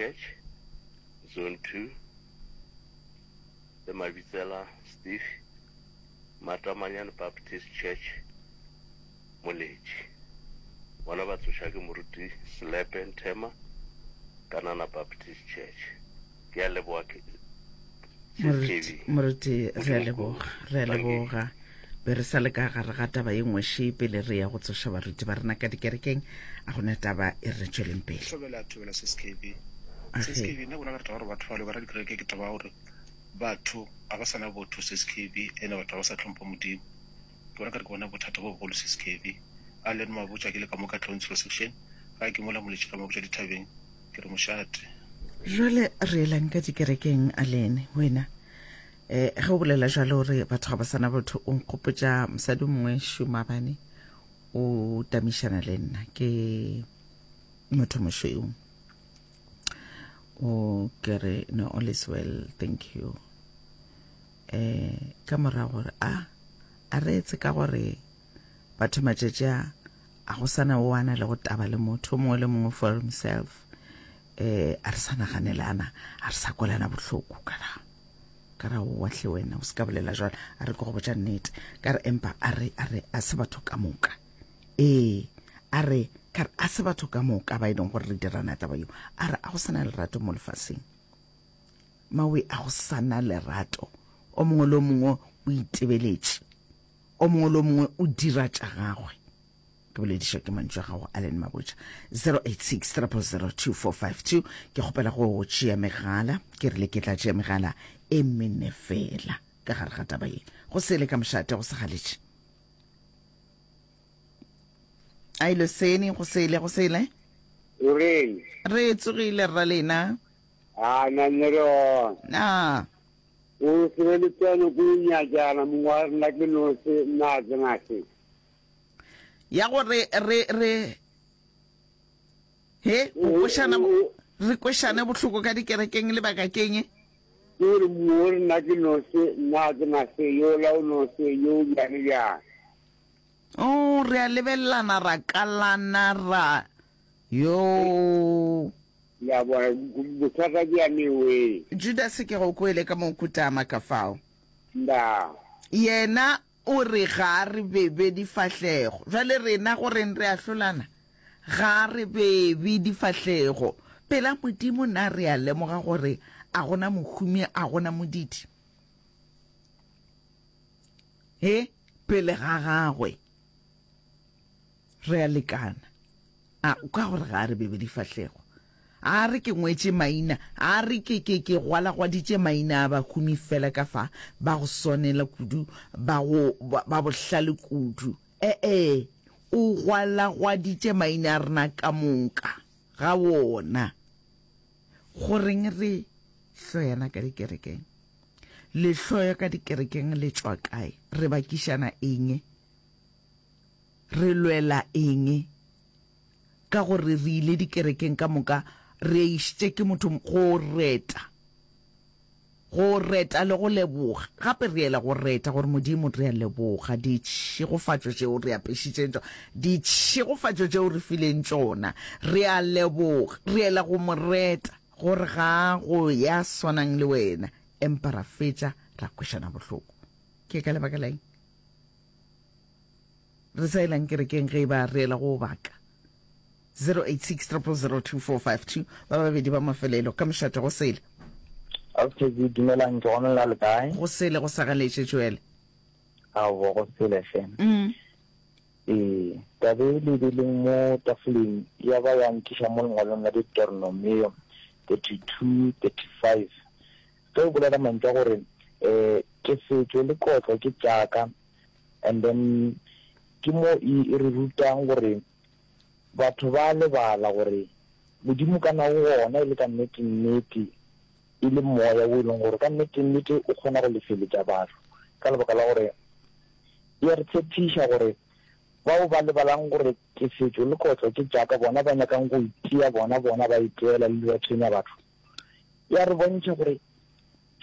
Church, Zone 2, le Mabitsela Steve, Matamanyane Baptist Church, Moletši. Bona ba tsoša ke Moruti Selepe Nthema, Kanana Baptist Church. Ke a leboga Moruti, moruti re a leboga, re a leboga. Be re sa le ka gare ga taba ye nngwe še pele re ya go tsoša baruti ba rena ka dikerekeng, a gona taba e re tšweleng pele. Thobela, thobela Sis KB. Sis KB, nna ke bona ka re taba gore batho ba lwe ka dikereke ke taba ya gore batho ga ba sa na botho Sis KB, ene batho ga ba sa hlompha Modimo. Ke bona ka re ke bona bothata bo bogolo Sis KB. A le Mabotja ke le ka mo ka Tlhontshelo section, gae ke mola Moletši ka Mabotja dithabeng. Ke re mošate. Jwale re elang ka dikerekeng a lene wena eh ge o bolela jalo re batho ga ba sana botho o nkgopotša mosadi mongwe šumabane o tamišana le nna ke motho mošweu o ke re no all is well thank you eh ka morago gore a a re etse ka gore Batho matšatši a, a go sa na o a na le go taba le motho, o mongwe le mongwe for himself. Eh, a re sa naganelana, a re sa kwelana bohloko ka ra ka ra owa hle wena o se ka bolela jwalo, a re ke go botša nnete. Ka re empa a re a re a se batho ka moka. Ee, a re ka re a se batho ka moka ba e leng gore re dirana taba yeo. A re a go sa na lerato mo lefaseng. Mawe a go sa na lerato. O mongwe le o mongwe o itebeletše. O mongwe le o mongwe o dira tša gagwe. Ke boledišwa ke mantšu a gago Allen Mabotja. 086 000 2452. Ke kgopela go tšea megala. Ke rile ke tla tšea megala e mene fela ka gare ga taba ye. Go sele ka mošate go sa galetše. A ile sene go sele go sele. O reng? Re tsogile rra lena. A na nne re ona. Na. O se be le tseno ko nyakana mongwe wa rena ke no se nna a tsena se. Ya gore re re he go kwešana re kwešane bohloko ka dikerekeng lebaka keng? Ke gore mongwe wa rena ke no se nna a tsena se yola o no se yo bjang bjang. Oh, re a lebelelana ra kalana ra yo. Le a bona, bothata ke ya mewe. Judase ke go kwele ka mo kutama ka fao. Nda. Yena o re ga a re bebe difahlego. Bjale rena go reng re ahlolana? Ga a re bebe difahlego. Pela Modimo na re a lemoga gore a gona mohumi a gona modidi? He, pele ga gagwe re a lekana. A ka gore ga a re bebe difahlego. A re ke ngwetše maina, a re ke, ke, ke gwalagwaditše maina a bahumi fela ka fa, ba go swanela kudu, ba go, ba, ba bohlale kudu. E-e, o gwalagwaditše maina a rena ka moka ga wona. Go reng re hloyana ka dikerekeng? Lehloyo ka dikerekeng le tšwa kae? Re bakišana eng? Re lwela eng? Ka gore re ile dikerekeng ka moka, re išitše ke motho go reta, go reta le go leboga. Gape re yela go reta gore Modimo re a leboga ditšhegofatšo tšeo re apešitšeng tšona, ditšhegofatšo tšeo re fileng tšona. Re a leboga, re yela go mo reta gore ga go ya swanang le wena, empa ra fetša ra kwešana bohloko. Ke ka lebaka la eng? Re sa elang kerekeng ge e ba re ela go baka? 086 000 2452 ba babedi ba mafelelo ka mošate go sele. Ausi dumelang ke gona la le kae? Go sele go sagaletše Joel. Aowa go sele hle. Mm. Ee, tabe e le beleng mo tafoleng ya ba ya nkiša mo lengwalong la Deuteronomio 32 35 ge o bolela mantšu a gore um tefetšo le kotlo ke tšaka And then ke mo e, e re rutang gore batho ba lebala gore Modimo ka na o gona e le ka nnete nnete, e le moya wo e leng gore ka nnete nnete o kgona go lefeletša batho ka lebaka la gore e a re tshepiša gore bao ba lebalang gore tefetšo le kotlo ke tša ka bona ba nyakang go itia bona bona ba iteela le ba tshwenya batho e a re bontšha gore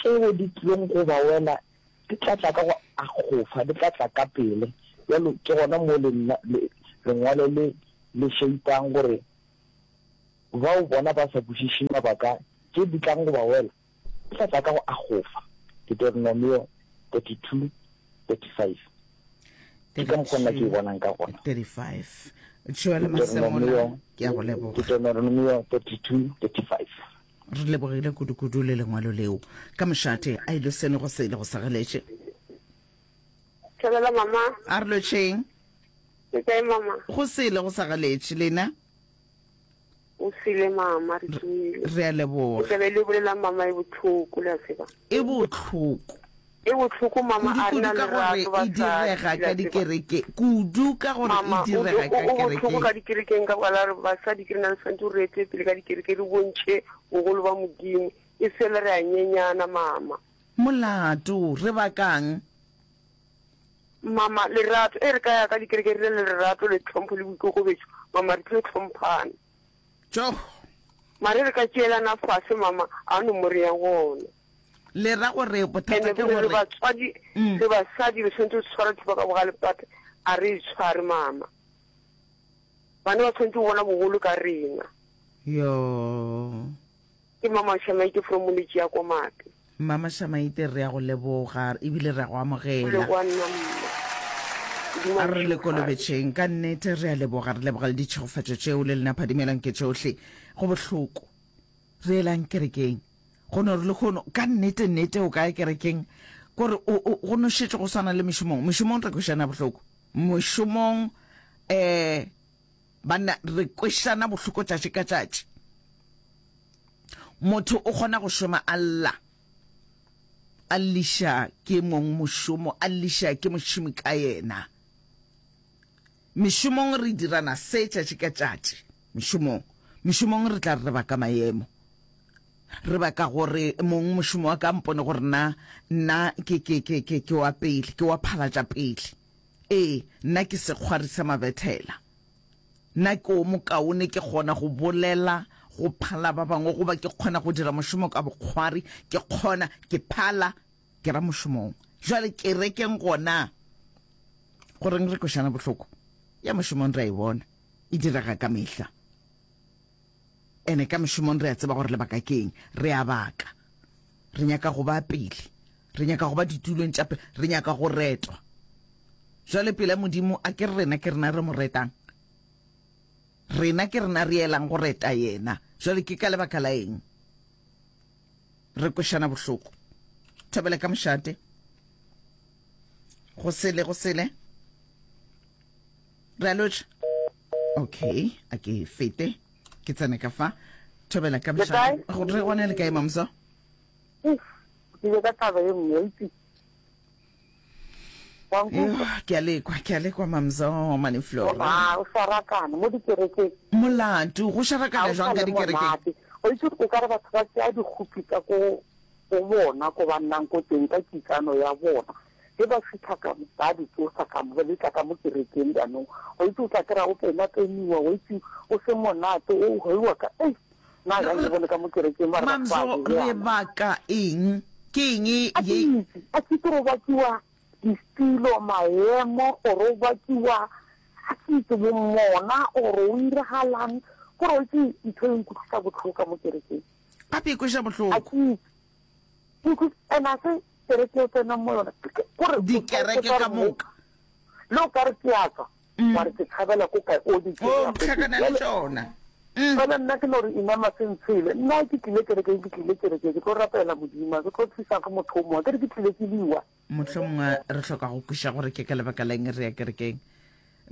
tšeo di tlilong go ba wela Di tla tla ka go akgofa, di tla tla ka pele. Bjalo ke gona mo le, le, lengwalo le le šeipang gore. Bao bona ba sa kwešiše mabaka tše di tlang go ba wela, di tla tla ka go akgofa. Deuteronomio 32, 35. Ke ka mokgwa nna ke e bonang ka gona. 35. Joel Masemola, ke a go leboga. Deuteronomio 32, 35. Re lebogile kudu-kudu le lengwalo leo. Ka mošate, a ile sene go se le go segeletše. Thobela mama. A re lotšheng. Le kae mama? Go sele go sagaletše lena. O sele mama re tswile. Re a leboga. Taba e le bolelang mama e botlhoko le a tseba. E botlhoko. E botlhoko mama a rena le gore e direga ka dikereke kudu ka gore e direga ka kerekeng. O botlhoko ka dikerekeng ka baka la gore basadi ke rena re tshwanetse re ete pele ka dikereke re bontšhe bogolo ba Modimo e fela re a nyenyana mama. Molato re bakang? Mama, lerato, e re ka ya ka dikereke re le lerato le tlhompho le boikokobetšo, mama, re tlo hlomphana. Tjoh! Mare re ka tšeelana fase, mama, a no mo re yang gona. Le ra gore bothata Ene ke re gore batswadi, Mm. re basadi re tshwanetse go tshwara thipa ka bogale but a re e tshware, mama. Bana ba tshwanetse go bona bogolo ka rena. Yo. Ke Mama Shamaite from Moletši ya Komate. Mama Shamaite re a go leboga ebile re a go amogela. Go leboga nna mma. Modimo A a re le le šegofatše. kolobetšeng ka nnete re a leboga re leboga le ditšhegofatšo tšeo le lena phadimelang ke tšohle go bohloko re elang kerekeng go no re lehono ka nnete nnete o kae kerekeng kore o, o, go no šetše go swana le mešomong mešomong re kwešana bohloko mošomong eh Banna, re kwešana bohloko tšatši ka tšatši. Motho o kgona go šoma a lla, a lliša ke mong mošomo, a lliša ke mošomi ka yena. Mešomong re dirana se tšatši ka tšatši. Mešomong, mešomong re tla re re baka maemo. Re baka gore mong mošomo wa ka mpone gore nna, nna ke, ke, ke, ke, ke wa pele, ke wa phalatša pele. Ee, nna ke sekgwari sa mabethela. Nna ke o mokaone, ke kgona go bolela go phala ba bangwe, goba ke kgona go dira mošomo ka bokgwari, ke kgona, ke phala, ke ra mošomong. Jwale kerekeng gona, goreng re kwešana bohloko? Ya mošomong re a e bona, e direga ka mehla. Ene ka mošomong re a tseba gore lebaka ke eng, re a baka. Re nyaka go ba pele. Re nyaka go ba ditulong tša pele. Re nyaka go retwa. Jwale pela Modimo, a ke re rena ke rena re mo retang? Rena ke rena re elang go reta yena. Jwale ke ka lebaka la eng re kwešana bohloko? Thobela ka mošate. Go sele, go sele. Re a lotšha. Okay, a ke fete. Ke tsene ka fa. Thobela ka mošate. Re gona le kae, Mamso? Uff, ke ile ka taba ye nngwe, itse. Wa nkutlwa? Ke a lekwa, ke a lekwa Mamzo Mane Flora. Ah, o šarakana mo dikerekeng. Molato, go šarakana Ga o jwang sa ka le dikerekeng? monate. O itse o ka re batho ba tšea dikgopi tsa ko go bona ko ba nnang ko teng ka kitsano ya bona. Ge ba fihla ka mo, ba di tsosa ka mo, ba di tla ka mo kerekeng jaanong. O itse o tla kry-a o pena-peniwa, o itse o se monate, o hoiwa ka, ei. Na ga ke bone ka mo kerekeng ba re batho ba Mamzo, re baka eng? Ke eng ye? A ke itse, a ke itse gore o bakiwa ditilo, maemo, or o bakiwa, a ke itse bomona, or o iragalang. Kore o itse ntho e nkutlwisa botlhoko ka mo kerekeng. Gape e kweša A bohloko. ke itse. Ke utlwisa, and a se kereke o tsenang mo yona. Kore Dikereke ka moka. Le o ka re ke a tswa. Mm. Wa re ke tshabela ko kae o di O hlakana le tšona. Mm. Fela nna ke no re inama se ntshele. Nna ke tlile kerekeng, ke tlile kerekeng, ke tlo rapela Modimo, ke tlo thusa ke motho o mongwe. Ke re ke tlile ke liwa. Mohlomongwe re hloka go kweša gore ke ka lebaka la eng re ya kerekeng.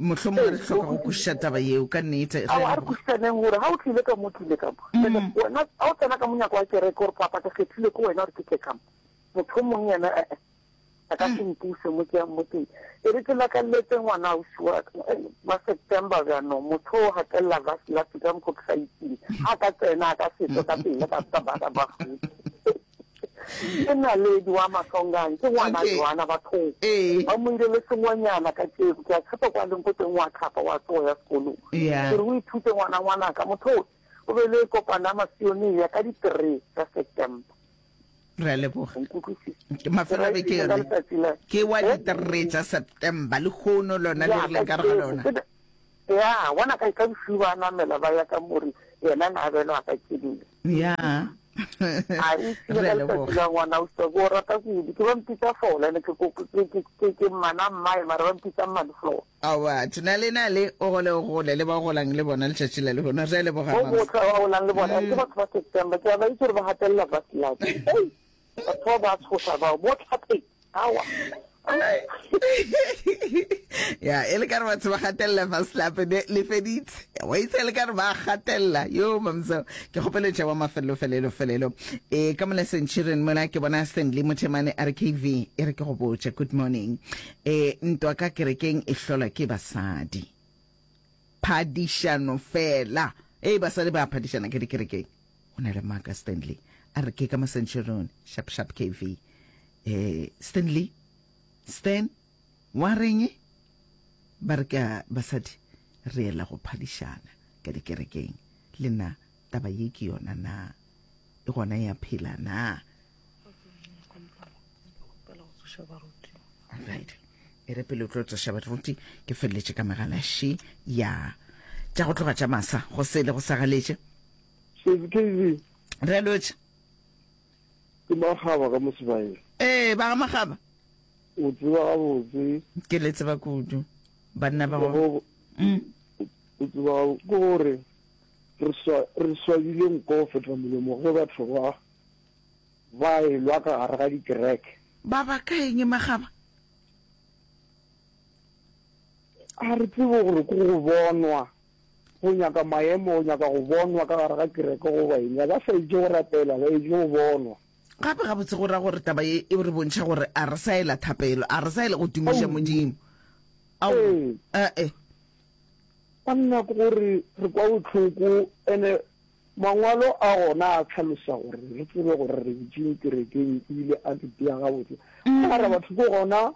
Mohlomongwe re hloka go kwešiša taba yeo ka nnete. Re Ao, a re kwešišaneng gore ga o tlile ka mo, o tlile ka mo. Mm. Wena ga o tsena ka monyako wa kereke gore papa ke kgethile ke wena gore ke tle ka mo. Motho o mongwe yena eh-eh. A ka se mpuse mo ke yang mo teng. E re ke lakalletse ngwana ausi wa ka, wa September bjanong, motho o gatelela vaseline ka mokgo ke sa itseng. Ga a ka tsena, a ka se tswe ka pele ka ka ba ba Ke naledi wa Mahlongane, ke ngwana Okay. Joana bathong. Ee. Ba mo ile le sengwenyana ka tšeko, ke a tshepa kwa leng ko teng wa tlhapa wa tsoga ya sekolong. Yeah. Ke re o ithute ngwana ngwanaka, motho o o be le kopano ya Masionea ka di three tša September. Re a leboga. Mafelo a beke yone ke wa di-three tša September lehono lona le re leng ka re ga lona. Ya, bona ka ka bosiu ba namela ba ya ka more. Yena na abelwa ka tše dingwe. Ya. A e Re ka a letsatsi leboga. la ngwana o ke o rata kudu. Ke ba mpitsa Fola ene ke ke ke ke ke mmana mmae mara ba mpitsa mmane Fola. Aowa, thina le na le o gole o gole le ba o golang le bona letšatši la lehono. Re a leboga Bo mams. botlhe ba golang le bona ke batho ba September ke a ba itse gore ba gatelela Vasilak. Ei, batho ba ba tshosa bao bo tlhapeng. Aowa. Ya, e le ka re batho ba gatelela Vasilap ne le feditse. Wa itse e le ka re ba gatelela. Yo mamso, ke kgopeletša wa mafelelo felelo felelo. E ka mola Centurion mola ke bona Stanley Mothemane a re KV e re ke go botše good morning. E, ntwa ka kerekeng e hlolwa ke basadi. Phadišano fela. Ei, basadi ba phadišana ka dikerekeng. O na le maaka Stanley. A re ke ka mo Centurion, sharp sharp KV. E, Stanley, Stan, wa reng? Ba re ka basadi re ela go phadišana ka dikerekeng. Le na taba ye ke yona na? E gona ya phela na? Alright. E re pele o tlo tsoša baruti ke feleletše ka megala še ya tša go tloga tša masa go sele go sa galetše. Sesi KV. Re a lotša. Ke Makgaba ka mo Sebaeng. Ee, ba ga Makgaba. O tseba gabotse. Ke le tseba kudu. Banna ba go. Mm. O tseba ke gore re swa re swabile nko go feta molomo ge batho ba ba elwa ka gare ga dikereke. Ba baka eng Makgaba? A re tsebe gore ke go bonwa, go nyaka maemo, go nyaka go bonwa ka gare ga kereke goba eng. Ga ba sa itše go rapela, ba itše go bonwa. Gape gabotse go ra gore taba ye e re bontšha gore a re sa ela thapelo, a re sa ela go tumiša Modimo. Aowa, Ee. ee. Banna ke gore re kwa bohloko ene Mangwalo a gona a hlalosa gore re tsebe gore re butšeng kerekeng ebile a re bea gabotse. Mara batho ke gona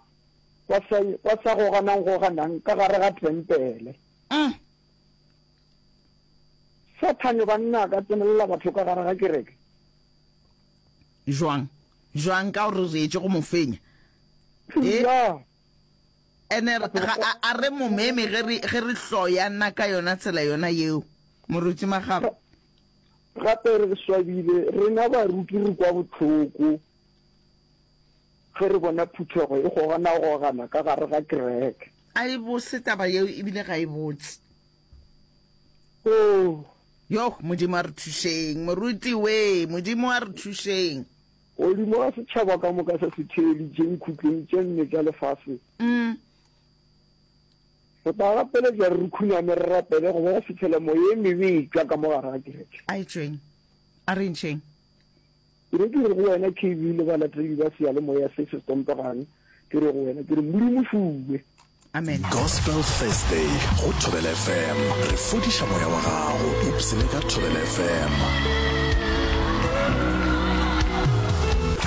ba sa, ba sa goganang-goganang ka gare ga tempele. Sathane banna a ka tsenelela batho ka gare ga kereke. Jwang? Jwang ka gore re etše go mo fenya? E? Ya. Ene ga a, a re mo meme ge re, ge re hloyana ka yona tsela yona yeo, Moruti Magaba. Gape re swabile, rena baruti re kwa bohloko ge re bona phuthego e goganagogana ka gare ga kereke. A e bose taba yeo ebile ga e botse. Oh. Yoh, Modimo a re thušeng, Moruti wee, Modimo a re thušeng. Godimo ga setšhaba ka moka se se theeditšeng khutlong tše nne tša lefase. Re tla gapeletša re khuname re rapele go ba go fihlela moya e mebe e tšwa ka mo gare ga kereke. A e tšweng. A re ntšheng. Ke be ke re go wena KB le balatedi ba seyalemoya se se stompegang, ke re go wena ke re Modimo šuwe. Amen. Gospel Thursday go Thobela FM. Re fodiša moya wa gago. Ipsene ka Thobela FM.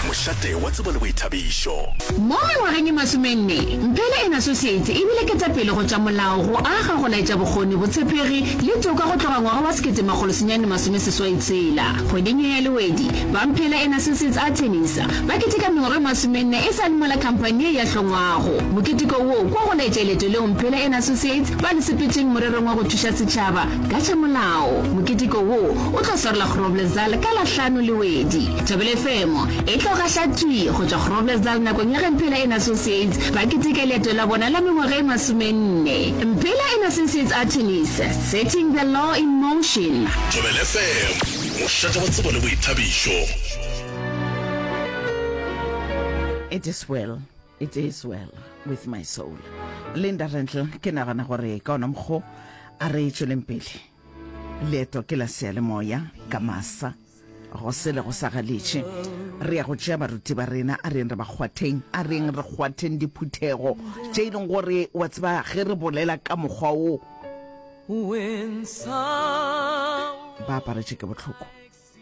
Mošate wa tsebo le boithabišo. Mo mengwageng e masomenne, Mphele and Associates e bile ketapele go tša molao, go aga, go laetša bokgoni, botshepegi le toka go tloga ngwaga wa 1986. Kgweding ye ya Lewedi, ba Mphele and Associates Attorneys ba keteka mengwaga e masomenne e sa le mola khamphani ye ya hlongwago. Moketeko wo kwa go laetša leeto leo Mphele and Associates ba le sepetšeng morerong wa go thuša setšhaba ka tša molao. Moketeko wo o tlo swarelwa Groblersdal ka la hlano Lewedi. Thobela FM e tlo gaša thwi go tšwa Groblersdal nakong ya ge Mphela and Associates ba keteka leeto la bona la mengwaga e masomenne. Mphela and Associates Attorneys, setting the law in motion. Thobela FM, mošate wa tsebo le boithabišo. It is well, it is well with my soul. Linda Rentle, ke nagana gore ka ona mokgo a re tšweleng pele. Leeto ke la seyalemoya ka masa go sele go sa galetše. Re ya go tšea baruti ba rena, a reng re ba kgwatheng, a reng re kgwatheng diphuthego tše e leng gore wa tseba ge re bolela ka mokgwa wo ba aparetše ke bohloko.